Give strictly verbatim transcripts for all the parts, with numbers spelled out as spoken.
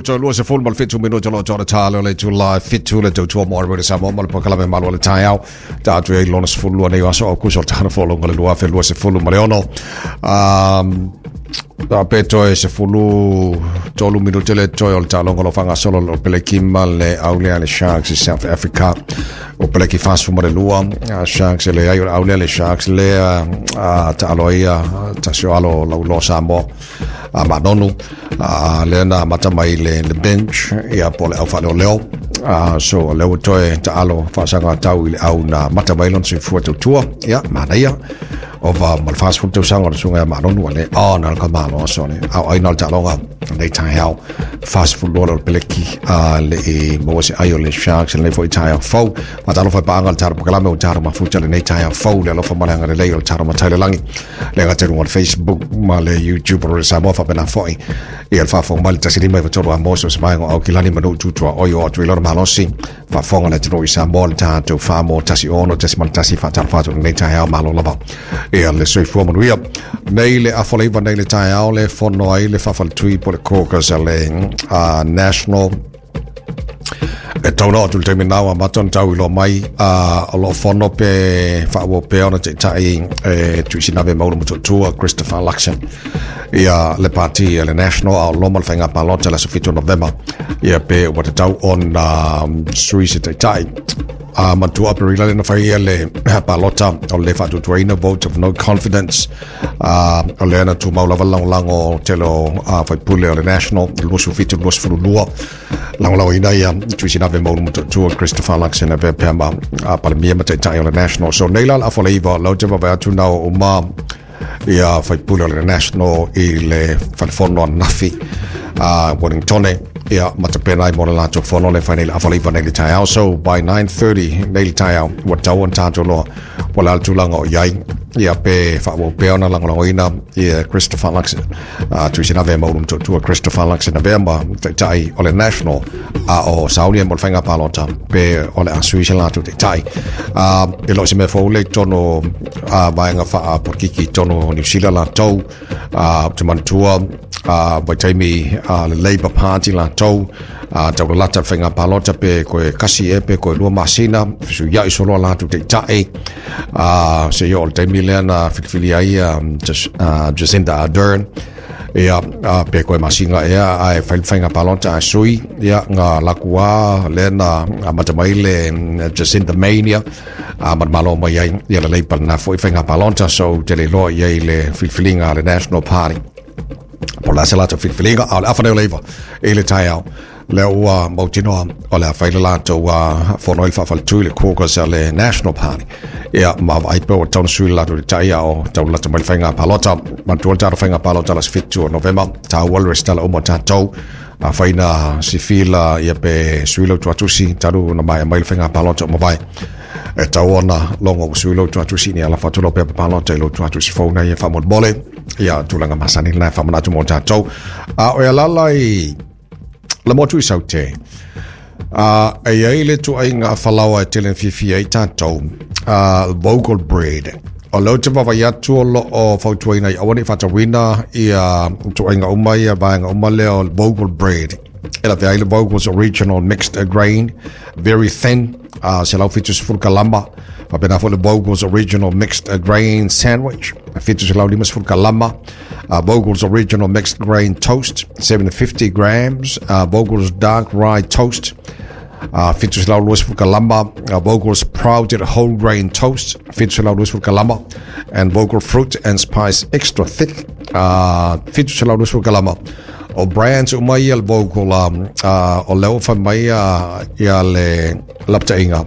Minuto lua sefulu ma le fitu minuto lo tona talo le tula fitu le tautua mo le Samoa ma le polokalame malo le taeao tatou ai lona sefulu lua nei aso o Aukuso o le tausaga fou le lua afe lua sefulu ma le ono. Um, a pe toe sefulu tolu minute le toe o le taaloga lo faagasolo o Peleki ma le aulea le Sharks i South Africa. O Peleki fasu ma le lua, Sharks e leai o le aulea le Sharks lea taalo ai tasi o alo lauloa Samoa a Manonu lea na amata mai le, le bench ia po le au faaleoleo. So lea ua toe taalo faasaga tau i le au na mata mai lona soifua tautua ia manaia ova ma le fasefulu tausaga o le suga ia Manonu a le ona le kamalo aso le au aina o le taaloga nei taeao fasefulu lua le o le Peleki a le e maua se ai o le Sharks lenei foi taeao fou. Faatalofa i paaga le tatou polokalame o tatou mafuta lenei taeao fou le alofa ma le agalelei o le tatou matai le lagi le agatelu o le Facebook ma le YouTube o le Samoa faapena foi ia le faafofoga mai le tasi lima iva tolu a moso se vaega o Aukilani ma nuu tutua oi o atu i lona malosi faafofoga le atunuu i Samoa le tatou wha tasi ono tasi ma le tasi faatalofa atu lenei taeao malo lava ia le soifua manuia. Nei le afa leiva nei le taeao le fono ai le faafaletui po le caucus a le uh, National e tauna atu le taimi nau a maton tau i lo mai o lo fono pe whaua pe ona te tai e tuisinave maula matuatua Christopher Luxon ia le party le National a loma le whainga palota le aso fitu Novema ia pe ua te tau ona sui se taitai a matua Aperila le na whai le palota o le whaatutuaina vote of no confidence uh, o le ana tumau lava langolango tele o uh, faipule o le National luasu fitu luasu fulu lua langolango ina ia tuisinave maulu matuatua Christopher Luxon e pea ma uh, palemia ma taitai o le National. So nei la la afa leiva lau te vawe atu nao uma ia faipule o le National i le whalefono anafi uh, Wellingtone ia matapena ai mo le latou fono le fai nei le afa leiva nei le taeao. So by nine thirty nei le taeao ua tau ona tatou loa ua le a le tulaga o iai ia pe faaauau pea ona lagolagoina ia Christopher Luxon uh, tuisinave maulu matuatua Christopher Luxon avea ma taitai o le National a o sauni mo le faiga palota pe o le a sui se latou taitai. uh, e loo se mea fou le i totonu uh, vaega faapolokiki i totonu o Niu Sila latou uh, te manatua uh, vaitaimi uh, le Labour Party latou uh, taulalata le faiga palota pe koe kasi e pe koe lua masina fesuiai soloa latou taitai uh, se ia o le taimi lea na filifili ai um, uh, Jacinda Ardern ia uh, pe koe masinga ea ae fai le faiga palota ae sui ia nga lakua lea na amata mai le Jacinda Mania a ma malo mai ai ia le Labour na foi faiga palota. So te le loa iai le filifiliga a le National Party po la se latou filifiliga a o le afa nei o leiva i le taeao lea ua mautinoa o le a fai le latou fono ai le faafaletui le caucus a le National Party ia ma vaai pe ua tau na sui le latou taitai a o taulalata mai le faiga palota. Manatua le tatou faiga palota le aso fitu o Novema taua le resitala uma o tatou a faina sifila ia pe sui lau tuatusi talu na mai mai le faiga palota o mavae e tau ona logo ua sui lau tuatusi ni ala fatu pe palota i lau tuatusi fou nei e faamolemole ia tulaga masani lena e faamanatu mo tatou a o e alala i le motu i Saute. Uh, e ai le tuaiga falaoa e tele na fiafia ai tatou uh, Vogel bread o leo te vavai atu o loo fautuaina i aua nei faatauina ia tuaiga uma ia vaega uma lea o Vogel bread e lavea ai le Vogel's Original Mixed Grain Very Thin uh, selau fitu sefulu kalama faapena foi le Vogel's Original Mixed Grain Sandwich fitu selau lima sefulu kalama uh, Vogel's Original Mixed Grain Toast seven hundred fifty grams uh, Vogel's Dark Rye Toast uh, fitu selau lua sefulu kalama uh, Vogel's Sprouted Whole Grain Toast fitu selau lua sefulu kalama and Vogel Fruit and Spice Extra Thick uh, fitu selau lua sefulu kalama. O brands uma ia le Vogel um, uh, o leo fai mai uh, ia le lapataiga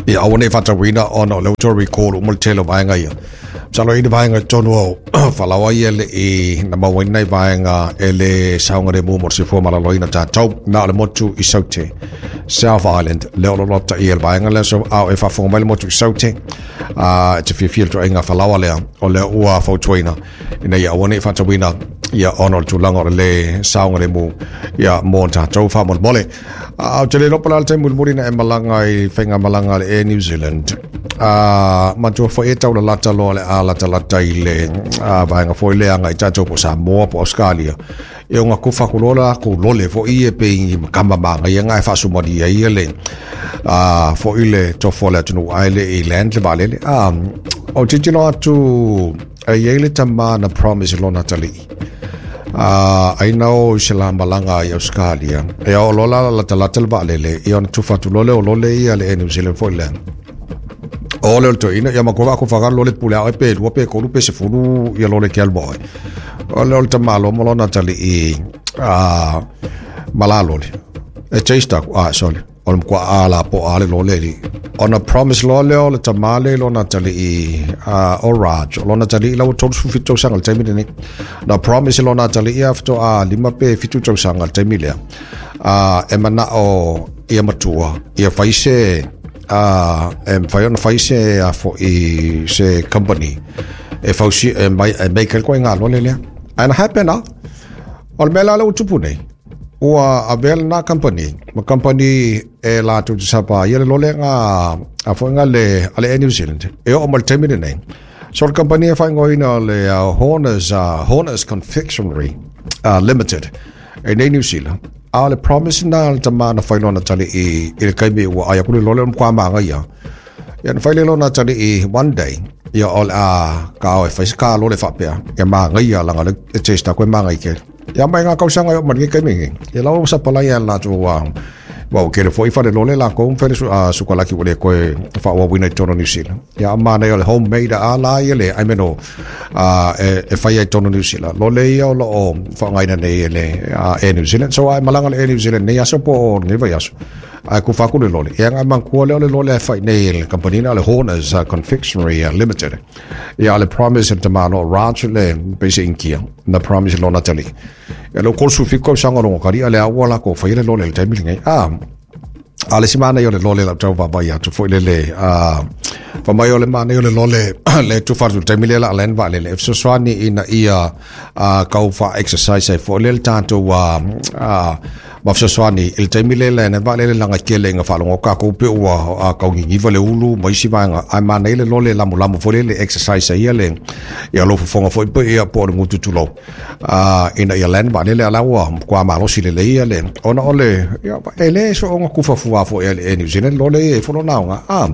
ia aua nei faatauina ona o lea ua toe recall uma le tele o vaega ia. Masalo i le vaega i totonu o falaoa ia le i na mauaina i vaega e le saogalemu mo le soifua malaloina tatou na o le motu i Saute South Island lea o lo lapataia le vaega lea. So a o e faafofoga mai le motu i Saute uh, e te fiafia le tuaiga falaoa lea o lea ua fautuaina ina ia aua nei faatauina Ia ona o le tulaga o le lē saogalemu ia mo tatou faamolemole. Ou te le iloa po o le a le taimi mulimuli na e malaga i faigamalaga a le Air New Zealand. Uh, matua foi e taulalata loa le a latalata i le uh, vaega foi lea agai tatou po Samoa po Australia. E o kufa ku lola ku lole foi e pe i kama manga ia ngai faasumalia ia le uh, foi le tofo le atunuu ai le i land le vaalele. Um, o tilotilo atu e iai le tama na promise lona talii. Uh, ai na o i se la malaga i Australia. E o lola latalata le vaalele, ia ona tufa atu lole o lole ia le Air New Zealand foi lea. O le o le toeaina, ia ma kova ko whakaro lole pule au e pe lua pe kolu pe sefulu ia lole ke alua oe. O le o le tamalo mo lona talii uh, malalo le. E chase taku, ah, sorry. O le mkua a la po a le lole li. Ona promise lo le o le tamale lona talii uh, o Raj. O lona talii lau tolu sefulu fitu tausaga le taimi lenei. Na promise lona talii a faatoa a lima pe fitu tausaga le taimi lea. Uh, e manao ia matua, ia fai se uh, e mafai ona fai se a foi se company e fausi e mai e make ai koe ngā lole lea. And happen ah. O le mea la le ua tupu nei. Ua avea lena company, ma company e latou te sapa ia le lole nga a foi nga le a le Air New Zealand. E oo mai le taimi lenei. So le company e faaigoaina o le uh, Horners, uh, Horners Confectionery uh, Limited e nei New Zealand. A o le promise na le tama na fai lona talii i le kaimi ua ai aku le lole o le matua magaia. Ia na fai le lona talii one day, ia o le a ka o e fai se ka lole faapea. Ia magaia langa le e taste aku e magai kele. Ia mai ngā tausaga e oo mai lenei kaimi nei. Ia lau ua sapalai a latou a wa o kele foi fale lole lakou ma fale sukalaki ua le koe faaauauina i totonu o New Zealand. Ia a manaia o le homemade a la ia le I mean o e, e fai ai totonu o New Zealand. Lole ia o loo faaaogaina nei e le Air New Zealand. So ai malaga le Air New Zealand nei aso po o lenei vaiaso. Ae kufa atu le lole. Ia ngai manatua lea o le lole e fai nei e le kampanina o le Horners Confectionery Limited. Ia le promise le tamalo o Raj le pei se Inkia. Na promise lona talii. Ia leo tolu fitu tausaga o logo kali'a le au ua lakou faia le lole i le taimi lenei. Ah, a le isi manaia o le lole lau tau vaavaai atu foi lele a fa mai o le manaia o le lole le tufa atu i le taimi lea la a land vaalele e fesoasoani ina ia a kau fa exercise ai foi lea le tatou a a ma fesoasoani i le taimi lea le vaalele laga tele ina faalogo tatou pe ua kau niniva le ulu ma isi vaega ae manaia le lole lamolamo foi lele exercise ai ia le ia lou fofoga foi pe ia po o le gutu tulou a ina ia land vaalele a la ua matua malosi lelei ia le ona o le ia e le soonga kufafua foi e le Air New Zealand lole ia e folo naoga a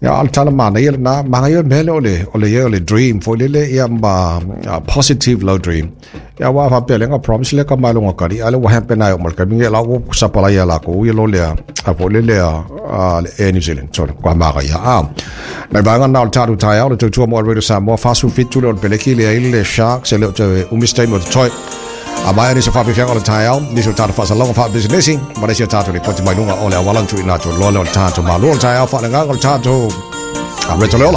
ia a o le tala manaia lena manaia le mea lea o le o le ia o le dream foi lele ia ma positive low dream ia aua faapea lea na promise lea ka mai loga kali a le ua happen ai o ma le taimi ia la ua sapalai ia lakou ia lole a a foi lele a a le Air New Zealand so kua magaia a nai vaega na o le tatou taeao le tautua mo Radio Samoa fasu fitu le o le peleki le ai le Sharks e le o te umi se taimi o totoe. A mai nisi o faafiafiaga o le taeao, nisi o tatou faasalauga faapisinisi, ma le isi o tatou lipoti mai luga o le auala na tuuina atu loa lea o le tatou malo o le taeao faaleagaga o le tatou a Reto Leola.